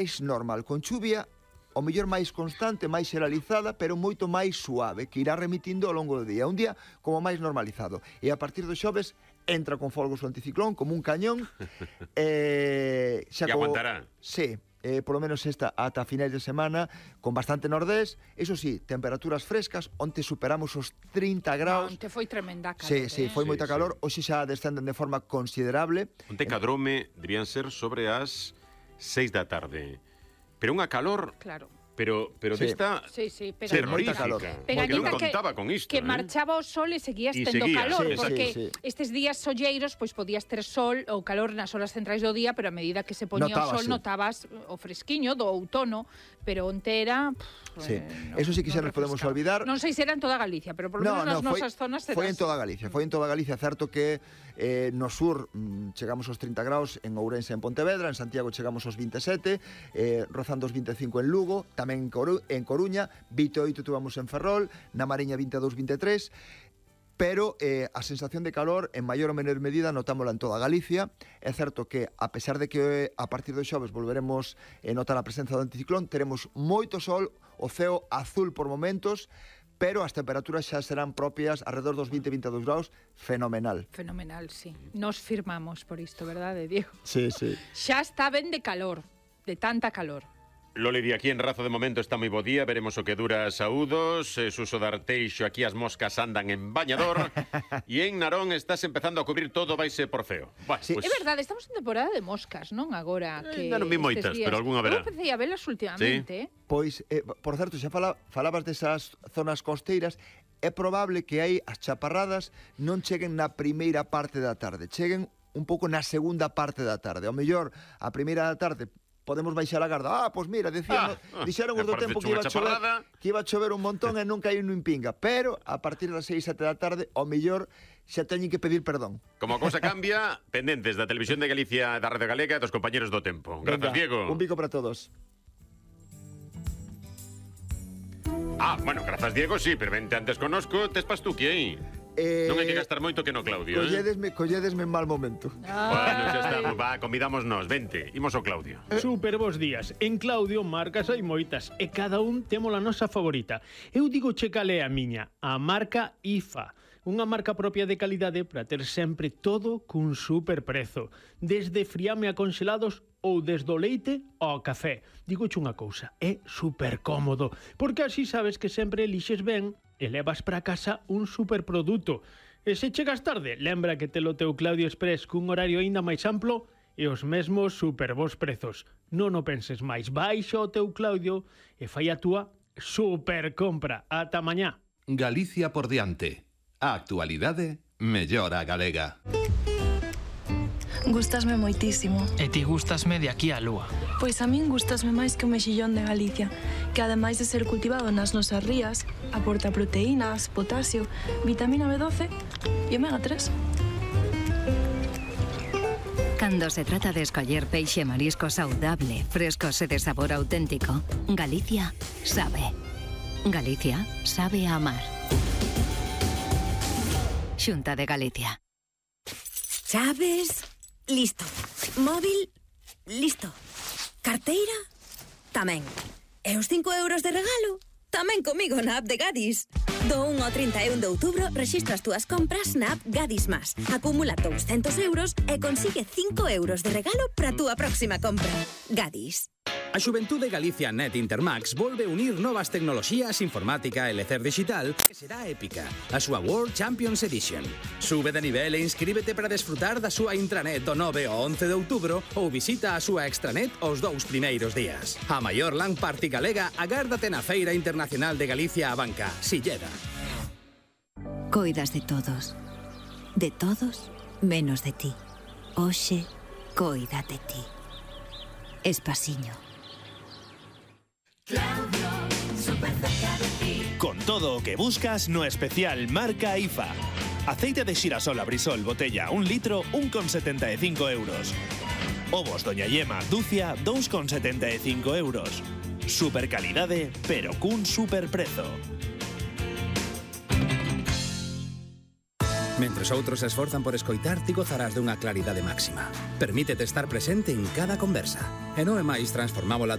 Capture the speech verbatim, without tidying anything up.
máis normal, con chuvia o mellor máis constante, máis xeralizada, pero moito máis suave, que irá remitindo ao longo do día. Un día como máis normalizado. E a partir do xoves entra con folgos o anticiclón, como un cañón. eh, xa e co... aguantará. Sí, eh, polo menos esta ata finais de semana, con bastante nordés. Eso sí, temperaturas frescas, onte superamos os trinta graus. Onte foi tremenda calor. Sí, sí, foi eh? moita Sí, calor. Sí. Hoxe xa descenden de forma considerable. Onte cadrome debían ser sobre as seis da tarde. Pero unha calor... Claro. Pero, pero Sí. desta Sí, sí, Sí, moita terrorífica. calor. Porque Pegañita non que- contaba con isto, que eh? marchaba o sol e seguías E tendo seguía, calor, sí, porque sí, sí. estes días solleiros pois podías ter sol ou calor nas horas centrais do día, pero a medida que se poñía o sol Notábase. notabas o fresquiño do outono, pero onte era... Sí. eh, Eso sí que xa nos podemos refrescaba. olvidar. Non sei se era en toda Galicia, pero por lo menos nas foi, nosas zonas era foi en así. toda Galicia, foi en toda Galicia, certo que eh, no sur mm, chegamos aos trinta graus en Ourense e en Pontevedra, en Santiago chegamos aos vinte e sete, eh, rozando os vinte e cinco en Lugo, tamén en, Coru en Coruña, vinte e oito tuvamos en Ferrol, na Mariña vinte e dous, vinte e tres, pero eh, a sensación de calor en maior ou menor medida notámola en toda Galicia. É certo que, a pesar de que a partir do xoves volveremos a notar a presenza do anticiclón, teremos moito sol, o ceo azul por momentos, pero as temperaturas xa serán propias alrededor dos vinte a vinte e dous graus, fenomenal. Fenomenal, sí. Nos firmamos por isto, verdade, Diego? Sí, sí. Xa está ben de calor, de tanta calor. Loli, de aquí en Razo de momento está moi bo día, veremos o que dura saúdos, eh, Suso de Arteixo, aquí as moscas andan en bañador, e en Narón estás empezando a cubrir todo, vaise por feo. Bueno, Sí. pues, É verdade, estamos en temporada de moscas, non agora? Eh, Que ainda non vi estes moitas, días- pero algunha haberá. Eu empecé a velas últimamente, eh? Pois, eh, por certo, xa fala, falabas desas zonas costeiras, é probable que aí as chaparradas non cheguen na primeira parte da tarde, cheguen un pouco na segunda parte da tarde. Ao mellor, a primeira da tarde podemos baixar a garda. Ah, pois mira, decíamos, Ah, ah, dixeron e os do aparece tempo que unha iba a chover, chaparrada. que iba a chover un montón e nunca hai un pinga, pero a partir das seis, sete da tarde, ao mellor xa teñen que pedir perdón. como a cousa cambia, pendentes da Televisión de Galicia, da Radio Galega e dos compañeros do tempo. Grazas, Venga, Diego. Un bico para todos. Ah, bueno, grazas, Diego, sí, pero vente antes conosco, tes pastuqui aí. Eh, Non hai que gastar moito que no Claudio, eh? colledesme, colledesme en mal momento. Bueno, xa está, va, convidámonos, vente, imos ao Claudio. Super bons días. En Claudio marcas hai moitas e cada un temos a nosa favorita. Eu digo che cal é a miña, a marca I F A. Unha marca propia de calidade para ter sempre todo cun super prezo. Desde friame a congelados ou desde o leite ao café. Digo che unha cousa, é super cómodo, porque así sabes que sempre elixes ben e levas para casa un superproduto. E se chegas tarde, lembra que te lo teu Claudio Express cun horario aínda máis amplo e os mesmos super bons prezos. Non o penses máis, baixa o teu Claudio e fai a túa super compra. Ata mañá. Galicia por diante. A actualidade mellora a galega. Gústasme moitísimo. E ti gústasme de aquí á lúa. Pois a min gústasme máis que o mexillón de Galicia, que ademais de ser cultivado nas nosas rías, aporta proteínas, potasio, vitamina B doce e omega tres. Cando se trata de escoller peixe e marisco saudable, frescos e de sabor auténtico, Galicia sabe. Galicia sabe a amar. Xunta de Galicia. Chaves, listo. Móvil, listo. Carteira, tamén. E os cinco euros de regalo, tamén comigo na app de Gadis. Do un ao trinta e un de outubro rexistra as túas compras na app Gadis Más. Acumula douscentos euros e consigue cinco euros de regalo para a túa próxima compra. Gadis. A Xuventude Galicia Net Intermax volve unir novas tecnoloxías, informática e lecer digital que será épica, a súa World Champions Edition. Sube de nivel e inscríbete para desfrutar da súa intranet do nove ao once de outubro ou visita a súa extranet os dous primeiros días. A maior LAN Party galega agárdate na Feira Internacional de Galicia a Banca, Silleda. Coidas de todos. De todos, menos de ti. Oxe, coida de ti. Espasiño. Con todo o que buscas no especial marca I F A. Aceite de xirasol Abrisol botella un litro, un con setenta e cinco euros. Ovos Doña Yema dúcia, dous con setenta e cinco euros. Super calidade, pero cun super prezo. Mentres outros se esforzan por escoitar, ti gozarás dunha claridade máxima. Permítete estar presente en cada conversa. E non é máis transformámola